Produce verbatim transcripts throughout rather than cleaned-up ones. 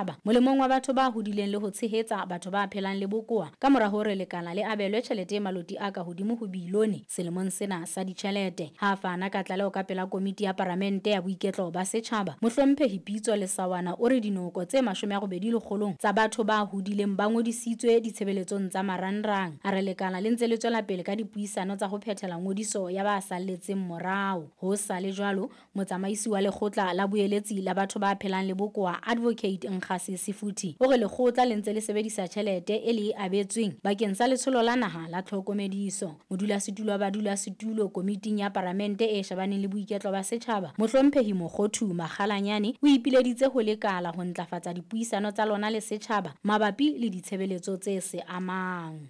setjhaba molemong wa batho ba hodileng le ho tshehetsa batho ba phelang le bokowa ka mora hore lekala le abelwe tjhelete e maloti a ka hodimo ho bilione selemong sena sa ditjhelete. Ha a fana ka tlaleho ka pela komiti ya Palamente ya Boiketlo ba Setjhaba, Mohlomphehi Pitso Lesaoana o re dinoko tse mashome a robedi lekgolong tsa batho ba hodileng ba ngodisitswe ditshebeletsong tsa marangrang. A re lekala le ntse le tswela pele ka dipuisano tsa ho phethela ngodiso ya ba salletseng morao. Ho sa le jwalo, motsamaisi wa lekgotla la boeletsi la batho ba phelang le bokowa Advocate Nkgase Sefuthi o re lekgotla le ntse le sebedisa tjhelete e le e abetsweng bakeng sa letsholo la naha la tlhokomediso. Modulasetulo wa badulasetulo komiting ya Palamente e shebaneng le boiketlo ba setjhaba, Mohlomphehi Mokhothu Makgalanyane o ipileditse ho lekala ho ntlafatsa dipuisano tsa lona le setjhaba mabapi le ditshebeletso tse se amang.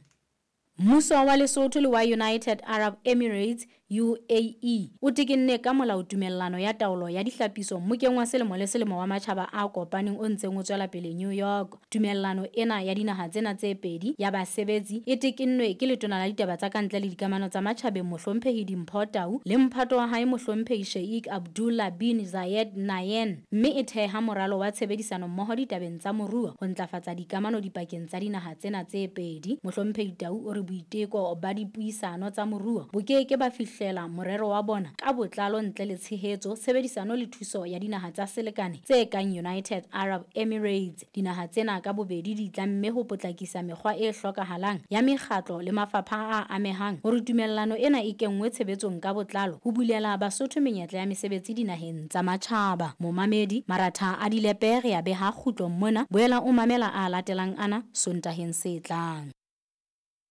Mmuso wa Lesotho le wa United Arab Emirates U A E o tekenne ka molao tumellano ya taolo ya dihlapiso mmokeng wa selemo le selemo wa matjhaba a kopaneng o ntseng o tswela pele New York. Tumellano ena ya dinaha tsena tse pedi ya basebetsi e tekennwe ke letona la ditaba tsa kantle le dikamano tsa matjhabeng Mohlomphehi Dimpho Tau le mphato wa hae Mohlomphehi Sheikh Abdullah bin Zayed Nahyan, mme e theha moralo wa tshebedisano mmoho ditabeng tsa moruo ho ntlafatsa dikamano dipakeng tsa dinaha tsena tse pedi. Mohlomphehi Tau o re boiteko ba dipuisano tsa moruo bo ke ke ba fihlela morero wa bona ka botlalo ntle le tshehetso, tshebedisano le thuso ya dinaha tsa selekane tse kang United Arab Emirates. Dinaha tsena ka bobedi di tlamme ho potlakisa mekgwa e hlokahalang ya mekgatlo le mafapha a amehang hore tumellano ena e kenngwe tshebetsong ka botlalo ho bulela Basotho menyetla ya mesebetsi dinaheng tsa matjhaba. Momamedi Maratha a dilepe re a beha kgutlong mona, boela o mamela a latelang ana Sontaheng se tlang.